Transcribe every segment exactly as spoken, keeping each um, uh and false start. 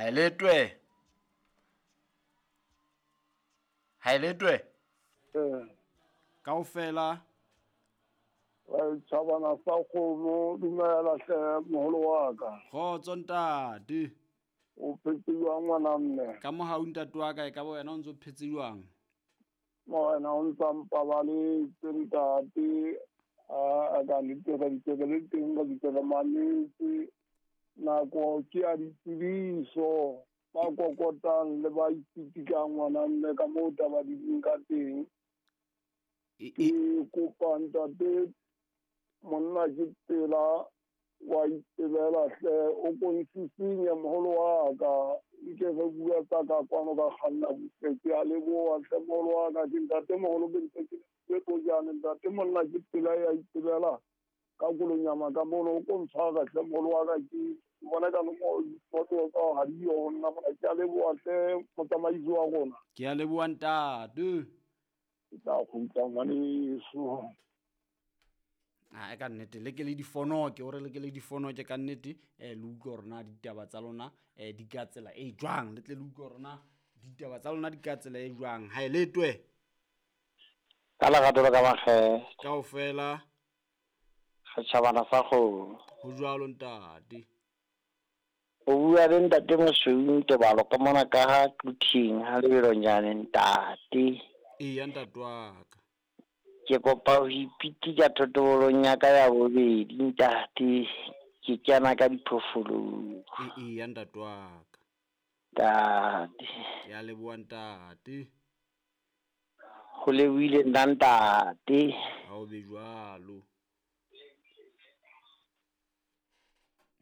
Haeletwe. Haeletwe. Eh. Kaofela. Tjhabana sa kgomo, dumela hle moholo wa ka. Kgotso ntate. O phetse jwang ngwana mme? Ka mohau ntate wa ka, e ka ba wena o ntso phetse jwang? Wena o ntsa mpabaletse ntate. A ka nnete ditebe le teng ka ditebe manetse. Nako ke ya ditsebiso ba kokotang le ba ipitikang ngwana mme ka moo taba di leng ka teng. Ke kopa ntate monna ke tsela wa itebela hle o konsisinye moholo wa ka nke re bua tsa ka kwano ka kganna butle. Ke a leboha hle moholo wa ka, ke ntate moholo ke ntse ke le pojane ntate monna ke tsela ya itebela ka kolonyama ka mono o kontshwara hle moholo wa ka ke bona ka mo foto tsa ha di yo nna mona. Ke a leboha hle motsamaisi wa rona. Ke a leboha ntate. Ke tla kgutla ngwaneso. Ah, ka nnete le ke le difono ke hore le ke le difono ke ka nnete eh le utlwe hore na ditaba tsa lona eh di ka tsela e jwang, le tle le utlwe hore na ditaba tsa lona di ka tsela e jwang. Ha e letwe ka lerato le ka makgethe kaofela setjhabana sa kgomo. Ho jwalo ntate. O bua le ntate Mosweu Ntebalo ka mona ka ha Quthing ha lebelonyane ntate. Eya ntate wa ka. Ke kopa ho ipitika thotobolong ya ka ya bobedi ntate, ke kena ka diphoofolong. Eya ntate wa ka. Ntate. Ke a leboha ntate. Ho lebohile nna ntate. Ha o be jwalo.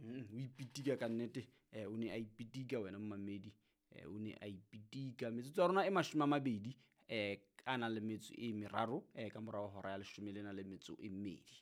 Mm, o ipitika ka nnete, eh o ne a ipitika wena mmamedi, eh o ne a ipitika. Metsotso ya rona e mashome a mabedi eh a nang le metso e meraro eh ka morao hora ya leshome le na le metso e mmedi.